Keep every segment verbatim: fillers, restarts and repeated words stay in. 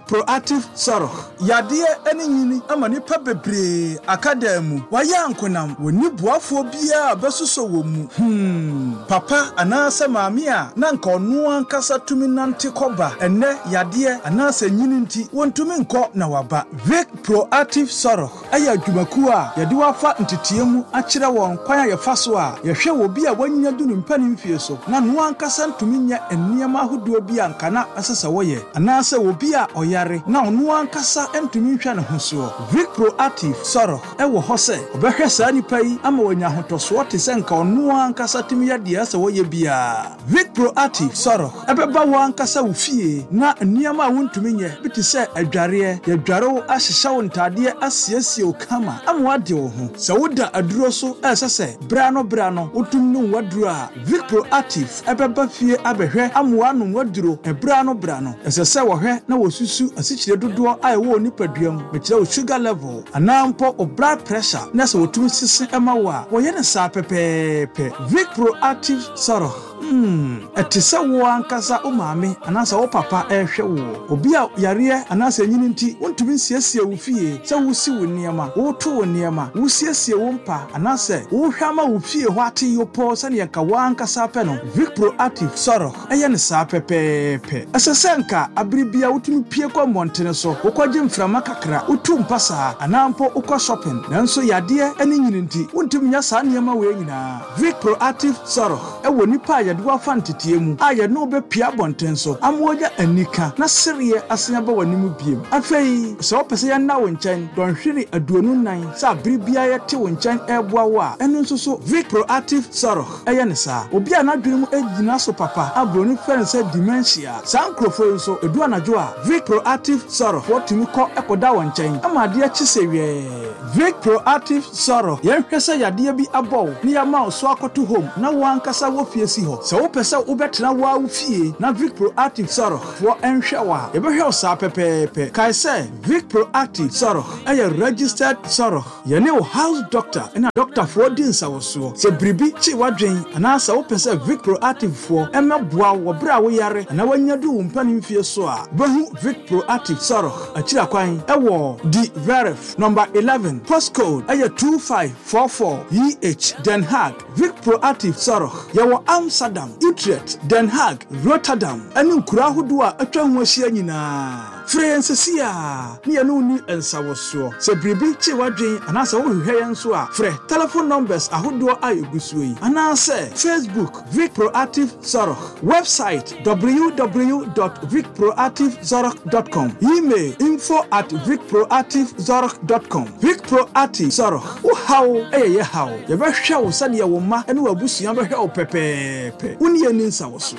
Proactive Zorg. Yadeɛ ne nyini ama nnipa bebree aka dan mu. Wɔayɛ ankonam, wɔnni boafoɔ biara a bɛsosɔ wɔn mu. Hmm, papa anaasɛ maame a na nka ɔno ankasa tumi nante kɔba. Ɛnnɛ yadeɛ anaasɛ nyini nti, wɔntumi nkɔ na waba. Vic Proactive Zorg ɛyɛ adwumakuo a yɛde wafa nteteɛ mu akyerɛ wɔn kwan a yɛfa so a yɛhwɛ wɔ bi a wanya du ne mpanin mfie so na no ankasa ntumi nyɛ nneɛma ahodoɔ bi a nka na ɛsɛ sɛ wɔyɛ anaasɛ obi a ɔyare na ɔno ankasa ntumi nhwɛ ne ho soɔ. Vic Proactive Zorg ɛwɔ hɔ sɛ ɔbɛhwɛ saa nipa yi ama wanya ahotɔsoɔ te sɛ nka ɔno ankasa tumi yɛ deɛ ɛsɛ wɔyɛ biara. Vic Proactive Zorg ɛbɛba wɔn ankasa wo fie na nneɛma a wontumi nyɛ bi te sɛ adwareɛ, yɛdware wo, ahyehyɛ wo ntadeɛ, asiesie wo kama ama woade wo ho. Sɛ woda aduro so ɛsɛ sɛ bra no bra no wotum nom waduro a, Vic Proactive ɛbɛba fie abɛhwɛ ama woanom waduro ɛbra no bra no. Ɛsɛ sɛ wɔhwɛ na wɔsusu asikyire dodoɔ a ɛwɔ wo nipadua mu, mekyerɛ wo sugar level anaa mpo wo blood pressure, na sɛ wɔtumi sese ɛma wo a, wɔyɛ no saa pɛpɛɛpɛ. Vic Proactive Zorg, Hmm, ɛte sɛ wo ankasa wo maame anaasɛ wo papa ɛrehwɛ wo. Obi a yareɛ anaasɛ nyini nti wontumi nsiesie wo fie, sɛ wosi wo nneɛma, woto wo nneɛma, wosiesie wo mpa anaasɛ wohwɛ ama wo fie hɔ ate yopɔ sɛneɛ nka wo ankasa pɛ no, Vic Proactive Zorg ɛyɛ no saa pɛpɛɛpɛ. Ɛsɛ sɛ nka abere bia wotumi pie kɔ mmɔntene so, wokɔgye mframa kakra, wotu mpa saa anaa mpo wokɔ shopping, nanso yadeɛ ne nyini nti wontumi nya saa nneɛma wei nyinaa. Vic Proactive Zorg ɛwɔ nipa a yɛde wafa nteteɛ mu a yɛne wo bɛpia abɔnten so ama wɔnya anika na sereɛ asen aba w'anim biem. Afei sɛ wopɛ sɛ yɛnna wo nkyɛn dɔnhwere aduonu nan sɛ abere biara yɛte wo nkyɛn ɛreboa wo a, ɛno nso so Vic Proactive Zorg ɛyɛ ne saa. Obi a n'adwene mu gyina so papa a buroni frɛ no sɛ dementia, saa nkurɔfoɔ yi nso edu anadwo a, Vic Proactive Zorg wɔtumi kɔ ɛkɔda wɔn nkyɛn ama adeɛ kye sɛ wɛɛ. Vic Proactive Zorg, yɛnhwɛ sɛ yadeɛ bi abɔ wo ne yɛama wo so akɔto home na wɔn ankasa wɔ fie si hɔ. Sɛ wopɛ sɛ wobɛtena wo a wo fie na Vic Proactive Zorg foɔ ɛnhwɛ wo a, yɛbɛhwɛ wo saa pɛpɛɛpɛ. Kae sɛ Vic Proactive Zorg ɛyɛ registered Zorg. Yɛne wo house doctor ɛna doctorfoɔ di nsawɔsoɔ. Sɛ biribi kye w'adwen anaasɛ wopɛ sɛ Vic Proactive foɔ ɛmmɛboa wo wɔ berɛ a woyare anaa woanya du wo mpanin fie so a, wobɛhu Vic Proactive Zorg akyiri akwan ɛwɔ De Werf number eleven, postcode ɛyɛ two five four four E H, Den Haag. Vic Proactive Zorg, yɛwɔ Amsterdam, Utrecht, Den Haag, Rotterdam ɛne nkuro ahodoɔ a atwa ho ahyia nyinaa. Frɛ yɛn sesi a ne yɛne wo ni nsawɔsoɔ. Sɛ biribi kye w'adwen anaasɛ wohwehwɛ yɛn nso a, frɛ telephone numbers ahodoɔ a ɛgu soɔ yi anaasɛ Facebook, Vic Proactive Zorg, website w w w dot vicproactivezorg dot com, email info at vicproactivezorg dot com. Vic Proactive Zorg, wo haw ɛyɛ yɛ haw. Yɛbɛhwɛ wo sɛdeɛ wo mma ne w'abusua bɛhwɛ wo pɛpɛɛpɛ. Wo ne yɛn ni nsawɔsoɔ.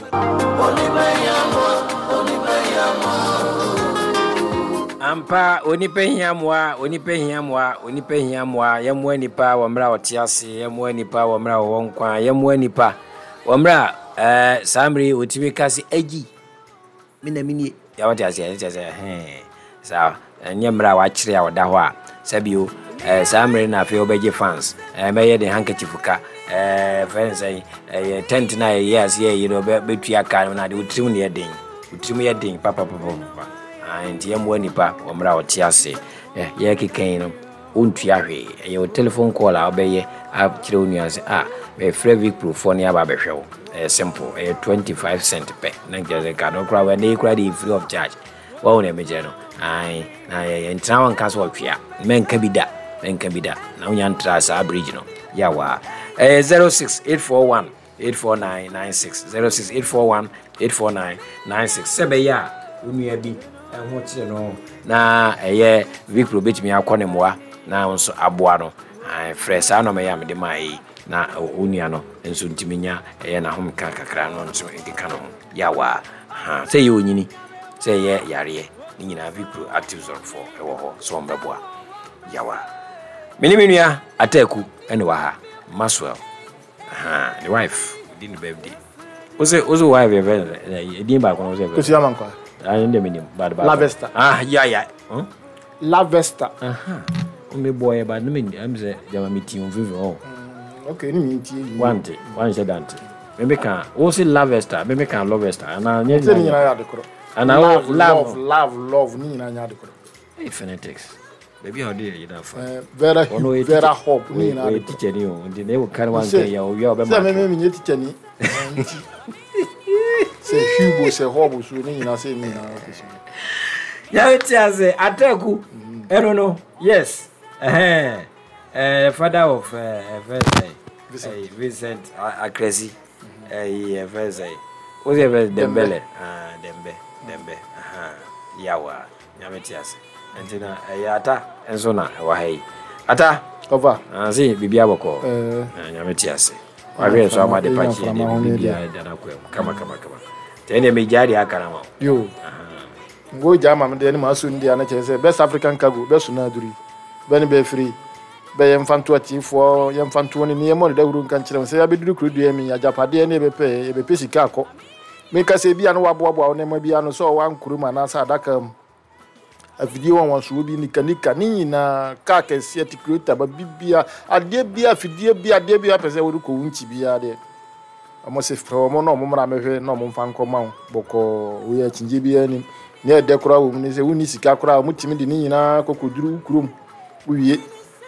Ampa, onipa hia mmoa, onipa hia mmoa, onipa hia mmoa. Yɛmmoa nipa wɔ mmerɛ a ɔte ase, yɛmmoa nipa wɔ mmerɛ a ɔwɔ nkwa, yɛmmoa nipa wɔ mmerɛ a ɛɛ saa mmerɛ yi ɔtumi ka se agyi me na menie. Yɛwɔte aseɛ, ɛkyɛ sɛ hɛn saa ɛnyɛ mmerɛ a wakyerɛ a ɔda hɔ a sɛbio ɛɛ saa mmerɛ na afei wobɛgye fans ɛɛ mɛyɛ de handkerchief ka ɛɛ fɛn sɛn ɛyɛ tent na ɛyɛ aseɛ yi no bɛtua ka no na de wotirim ne yɛ den, wotirim yɛ den papapapapa. Nti yɛmmoa nipa wɔ mmerɛ a ɔte ase. Yɛkeka yi no, wontua hwee. Ɛyɛ wo telephone call a wobɛyɛ akyerɛ wo nua sɛ a mefrɛ Vicprofoɔ ne aba abɛhwɛ wo. Ɛyɛ simple, ɛyɛ twenty-five cent pɛ na nkyerɛ sɛ ka no koraa ɛnɛ yi koraa de free of charge. Wahu ne mekyerɛ no ae na yɛntena hɔ nka sɛ ɔtwea. Mɛnka bi da, mɛnka bi da na wonya ntra saa bridge no yɛawaa. Ɛyɛ zero six eight four one eight four nine nine six, zero six eight four one eight four nine nine six, sɛ bɛyɛ a wo nua bi ho kyerɛ no na ɛyɛ Vicpro bɛtumi akɔ ne mmoa na nso aboa no. Frɛ saa nɔmɛ yi a mede maa yi na wo nua no nso ntumi nya ɛyɛ n'ahomka kakra no nso nkeka no ho yawaa. Sɛ ɛyɛ onyini, sɛ ɛyɛ yareɛ ne nyinaa, Vicpro Active Zorgfoɔ ɛwɔ hɔ sɛ ɔmbɛboa yawa. Me ne me nua Ataaku ɛne wɔ ha, Maxwell ne wife di ne birthday. Wose wose wife yɛ fɛ ɛdin baako no wose fɛ. Kosi Amankwa. Ah, ndé mi nim bad baako. Lavesta. Ah, ya ya. Hmm? Lavesta. Aha. O mi bɔ yɛ ba ne mi ɛm sɛ jama mi ti nfinfin hɔ. Okay, ni mi n tie yi. Wante wanhyɛ dante. Mi mi ka wose Lavesta, mi mi ka Lovesta ana nye. Sɛ ni nyinaa yɛ ade korɔ. Ana wo love love love love love ne nyinaa nyɛ ade korɔ. Hey, phonetics baabi a ɔde yɛ yina fa. Eh, Vera Ɔno ɔyɛ Vera teacher- Hop ne ɔyɛ nyinaa ade ɔyɛ korɔ. teacher ni o, nti na ewu kan wa Sɛ- nkan yɛ owia ɔbɛma. Sɛ meme menyɛ teacher ni. Eh, nti sɛ Hugo sɛ Hob so ne nyinaa sɛ ne nyinaa kɛsi. Yàrá ti ase Ataku ɛno no, yes, ɛhɛn ɛɛ father of ɛɛ ɛfɛ sɛ Vincent. Vincent Akresi, ɛyi ɛfɛ sɛ o sɛ ɛfɛ Dembele, ah, Dembe Dembe, ahan, yawa Nyame ti ase. Nti na ɛyɛ Ata nso na ɛwɔ ha yi, Ata. Ɔfa. Anse biribi abɔkɔ. Eh. Na Nyame ti ase, wahwɛ nso ama de Ɛnya pakye de mframa ho ne biribi dana kwan mu kama kama kama. Tɛ ɛnna megyaa deɛ aka na ma wo. Yo, ngo gya ama me deɛ ne maa so no deɛ no kyerɛ sɛ Best African Cargo bɛso no aduri bɛne bɛfiri bɛ yɛmfa nto atiefoɔ, yɛmfa ntoɔ ne ne yɛmmɔ ne dawuro nka nkyerɛ wo sɛ yɛabɛduru kuro dua mi agyapadeɛ ne yɛbɛpɛ yɛbɛpɛ sika akɔ. Meka sɛ bia no waboaboa wo nneɛma bia no sɛ ɔwɔ ankoro mu anaasɛ adaka mu, afidie wanwansoɔ bi, nikanika ne nyinaa, kaa kɛseɛ tikurota ba bibia, adeɛ bia, afidie bi, adeɛ bi apɛ sɛ wode kɔ wo nkyi biara deɛ, ɔmo se frɛ ɔmo na ɔmo mmra mɛhwɛ na ɔmo mfa nkɔma wo bɔkɔɔ. Woyɛ akyingye biara anim ne ɛdɛ koraa wɔ mu ne sɛ wonni sika koraa, ɔmo tumi de ne nyinaa kɔkɔduru wo kurom. Wowie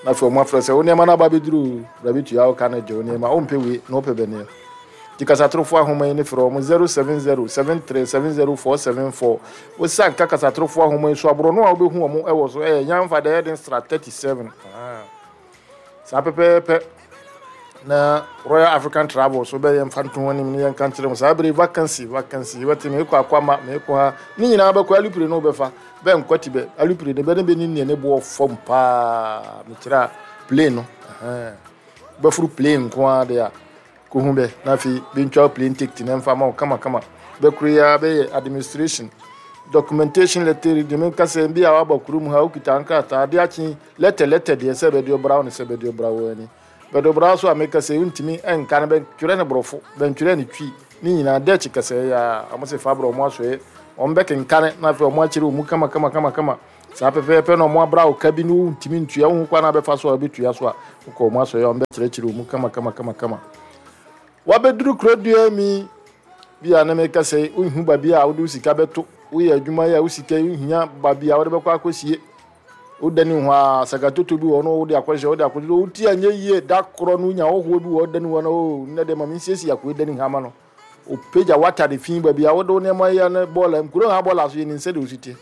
na afei ɔmo afrɛ sɛ wo nneɛma no aba bɛduru o, bra bɛtua wo ka no gye wo nneɛma. Wompɛ wei na wopɛ bɛneɛ nti kasatorofoɔ ahoma yi ne frɛ ɔmo zero seven zero seven three seven zero four seven four. Wosan ka kasatorofoɔ ahoma yi so aborɔ no a wobɛhu ɔmo ɛwɔ so ɛyɛ Nyamfa deɛ ɛyɛ Stra thirty-seven. Ah. Saa pɛpɛɛpɛ na Royal African Travel so bɛyɛ mfa nto ho anim ne yɛnka nkyerɛ mu saa bere vacancy vacancy wɔte meekɔ akwama meekɔ ha ne nyinaa bɛkɔ alupire no wobɛfa bɛnkɔ ti bɛ alupire no bɛne bɛni neɛ ne boɔ fam paa. Mekyerɛ a plane no, ɛhɛn. Bɛforo plane nko ara deɛ a kohu bɛ na afei bɛntwa wo plane ticket ne mfa ma wo kamakama. Bɛkoro yi ara bɛyɛ administration documentation letter de menka sɛ bi a waba kurom ha, wokita nkrataa ade akye letter letter deɛ sɛ bɛde ɔbra wo ne sɛ bɛde ɔbra wo ani bɛde ɔbra so a meka sɛ wontumi ɛnka no, bɛtwerɛ ne borɔfo, bɛntwerɛ ne Twi ne nyinaa dɛkyi kɛsɛ yɛ a ɔmo sɛ fa brɛ ɔmo asoɛ, ɔmo bɛkenkane na afei ɔmo akyerɛ ɔmu kama kama kama kama. Saa pɛpɛɛpɛ na ɔmo abra wo ka bi ne wontumi ntua wohu kwan na bɛfa so a wobɛtua so a wokɔ ɔmo asoɛ, ɔmo bɛkyerɛkyerɛ ɔmu kama kama kama kama. Wabɛduru kuro dua mi bi a na meka sɛ wohu baabi a wode wo sika bɛto, woyɛ adwuma yi a wo sika yi wohia baabi a wode bɛkɔ akɔsie, wodani ho a sakatoto bi wɔ no wode akɔhyɛ wode akɔhyɛ woti anyɛ yie da korɔ no wonya hɔhoɔ bi wɔ wodani hɔ no o nnɛ deɛ ma mensiesie akoe dani ha ma no ɔpagya watade fi baabi a wode wo nneɛma yɛ no bɔɔla nkuro ha bɔɔla so yɛ ne nsɛ de wo si teɛ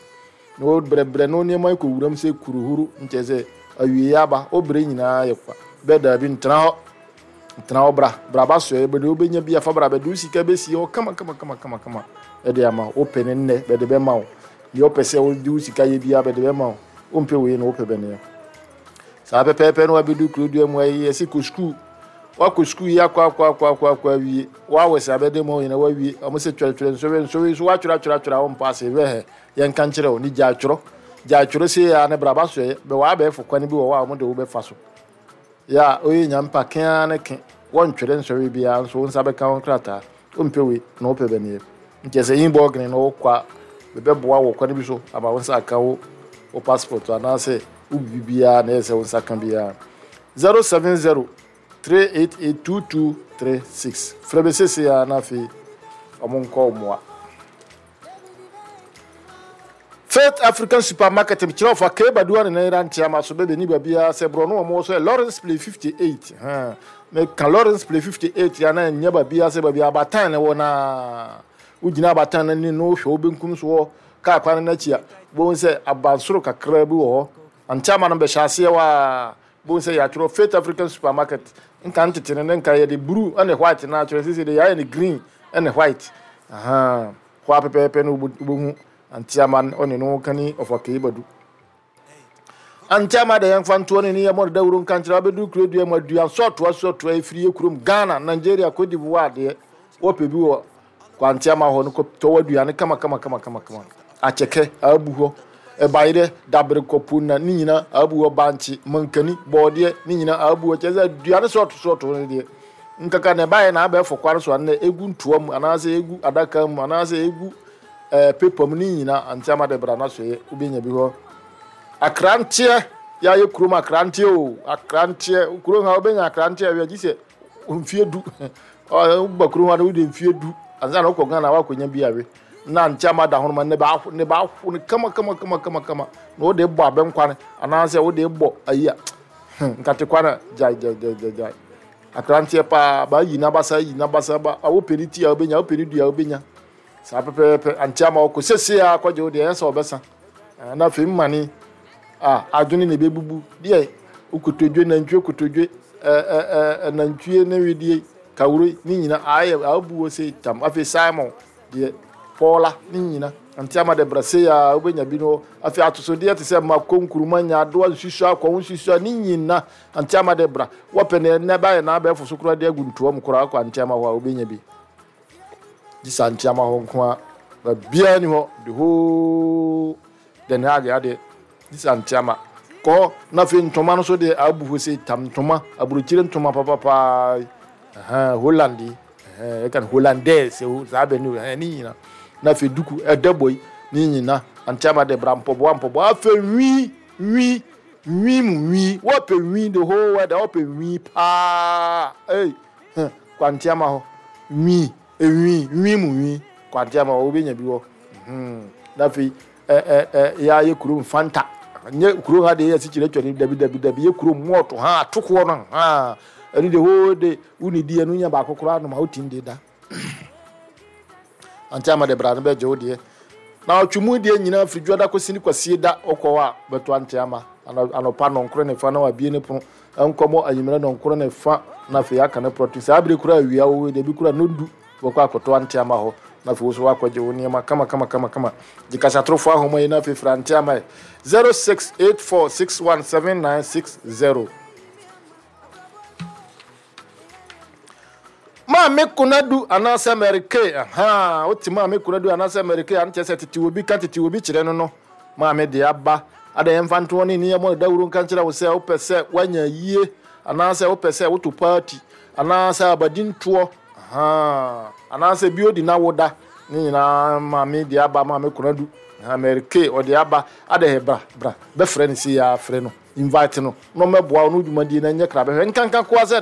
na wobrɛbrɛ no nneɛma yi kɔ wuram sɛ kuruhuru nkyɛ sɛ awie aba wobrɛ nyinaa yɛ kwa bɛɛ daabi ntena hɔ ntena hɔ bra bra ba soɛ bɛde wobɛnya bi afa bra bɛde wo sika bɛsie hɔ kama kama kama kama kama ɛde ama wo. Wopɛ ne nnɛ bɛde bɛma wo deɛ wopɛ sɛ wode wo sika yɛ biara bɛde bɛma wo. Wompɛ wei na wopɛ bɛneɛ saa pɛpɛɛpɛ na wabɛdu kuro dua mu ayi yɛsi kɔ sukuu, wakɔ sukuu yi akɔ akɔ akɔ akɔ akɔ awie wawɔ sɛ abɛde ma wo nyina wawie. Ɔmo sɛ twerɛtwerɛ nsɔre nsɔre so watwerɛ atwerɛ atwerɛ a wompa ase hwɛ hɛ yɛnka nkyerɛ wo ne gya atwerɛ gya atwerɛ sei a ne bra ba soɛ bɛ wɔ abɛɛfo kwan bi wɔ hɔ a ɔmo de wo bɛfa so yɛ a ɔyɛ nyampa kea ne ke wɔntwerɛ nsɔre biara nso wo nsa bɛka wo nkrataa. Wompɛ wei na wopɛ bɛneɛ nkyɛ sɛ yi bɔɔgene na wokɔ a bɛbɛboa wɔ kwan bi so ama wo nsa aka wo wo passport anaasɛ wo biribiara na ɛyɛ sɛ wo nsa ka biara. zero seven zero three eight eight two two three six frɛ bɛ sese a na afei ɔmo nkɔ wo mmoa. Faith African Supermarket kyerɛ ɔfa kebadua ne nan nte ama so bɛbɛ ni baabiara sɛ borɔ no ɔmo wɔ so yɛ Lawrence Play fifty-eight. Hɛn meka Lawrence Play fifty-eight ya na nyɛ baabiara sɛ baabi abatan ne wɔ naa wogyina abatan no ani no wohwɛ wo benkum so wɔ kaa kwan no n'akyi a bohu sɛ abansoro kakra bi wɔ hɔ ante ama no bɛhyɛ aseɛ waa bohu sɛ yɛatwerɛ Faith African Supermarket. Nka ntete no ne nka yɛde blue ɛne white na atwerɛ, sisi de yɛayɛ no green ɛne white. Ahan, hɔ a pɛpɛɛpɛ no wobɛhu ante ama ɔne no kani ɔfa kei badu ante ama de yɛmfa ntoɔ ne ne yɛmmɔ no dawuro nka nkyerɛ wabɛduru kuro dua mu aduan sɔɔtoa sɔɔtoa ɛfiri yɛ kurom Ghana, Nigeria, Cote d'Ivoire adeɛ wɔpɛ bi wɔ kwante ama hɔ no kɔtɔ w'aduane kama kama kama kama kama. Akyɛkɛ abu hɔ, ɛbayerɛ dabere kɔpo na ne nyina abu hɔ, bankye mankani bɔɔdeɛ ne nyina abu hɔ. Kyerɛ sɛ aduane sɔɔto sɔɔto no deɛ nkaka na ɛbaeɛ na abɛɛfo kware so anɛ egu ntoa mu anaasɛ egu adaka mu anaasɛ egu ɛɛ paper mu ne nyina ante ama de bra na so yɛ wobɛnya bi hɔ. Akranteɛ yɛayɛ kurom akranteɛ o, akranteɛ kurom ha wobɛnya akranteɛ awia gye sɛ mfie du. Woba kurom ha no wode mfie du ansa na wokɔ Ghana woakɔnya bi awe. Na nkyɛn da ho no ma ne ba ne ba aho no kama kama kama kama kama na wode bɔ abɛnkwan anaasɛ wode bɔ ayi a nkate kwan a gyae gyae gyae gyae gyae akranteɛ paa ba yi n'abasa yi n'abasa ba a wopɛ ne ti a wobɛnya, wopɛ ne dua a wobɛnya saa pɛpɛɛpɛ. Ankyɛ ama wɔkɔ sɛsie a akɔgye wo deɛ ɛyɛ sɛ wɔbɛsa na afei mmane a adwene na ɛbɛbubu deɛ wokotodwe nantwie kotodwe ɛɛ nantwie ne wedeɛ kawuro ne nyina ayɛ abu wɔ sɛ tam. Afei Simon deɛ pɔɔla ne nyina nti ama de brɛ se a wobɛnya bi no. Afei atosodeɛ te sɛ mako, nkuruma, nyaadoa, nsusua, akɔwo nsusua ne nyina nti ama de bra. Wɔpɛ ne ɛnɛ bayɛ na abɛɛfo so koraa de agu ntoa mu koraa akɔ nti ama hɔ a wobɛnya bi gye sa nti ama hɔ nko a baabiara ni hɔ the whole Den Haag adeɛ gye sa nti ama kɔ. Na afei ntoma no so deɛ abu hɔ sɛ tam ntoma, aburokyire ntoma papapaa, Holland yi ɛka no Hollandaise saa bɛ ne ne nyina. Na afei duku ɛda bɔ yi ne nyina nti ama de bra. Mpɔboa mpɔboa, afei nwi nwi nwi mu nwi, wɔpɛ nwi the whole world wɔpɛ nwi paa. Ei, kwanti ama hɔ nwi enwi nwi mu nwi, kwanti ama hɔ wobɛnya bi wɔ. Na afei ɛ ɛ ɛ yɛayɛ kurom Fanta, nyɛ kurom ha deɛ yɛ asikyire atwa ne dabi dabi dabi, yɛ kurom mɔɔto ha atokoɔ no ha ɛno de hoo de wone di ɛno nya baako koraa nom a wotim de da. Ante ama de bra no bɛgye wo deɛ na ɔtwe mu deɛ nyinaa firi dwoada kɔsi ne kwasie da. Wokɔ hɔ a bɛto ante ama anɔpa nɔnkoro ne fa na wabie ne pono nkɔmmɔ, anwummerɛ nɔnkoro ne fa na afei aka ne prɔto. Saa bere koraa awia wo deɛ bi koraa nondu wɔkɔ akɔtɔ ante ama hɔ. Na afei wo so wakɔgye wo nneɛma kama kama kama kama. Gye kasatorofoɔ ahoma yi na afei fra ante ama yɛ zero six eight four six one seven nine six zero. Maame Konadu anaasɛ Mary Kay, aha wote Maame Konadu anaasɛ Mary Kay ano kyerɛ sɛ tete obi ka tete obi kyerɛ no no maame de aba ada yɛmfa ntoɔ ne nneɛma no dawuro nka nkyerɛ wo sɛ wopɛ sɛ woanya yie anaasɛ wopɛ sɛ woto party anaasɛ abadintoɔ aha anaasɛ bi odi na woda ne nyinaa, maame de aba, Maame Konadu, Mary Kay ɔde aba ada yɛ bra bra bɛfrɛ no si yɛ afrɛ no, invite no na ɔmɛboa wo no dwumadie no nyɛ kra bɛhwɛ nkanka koa sɛ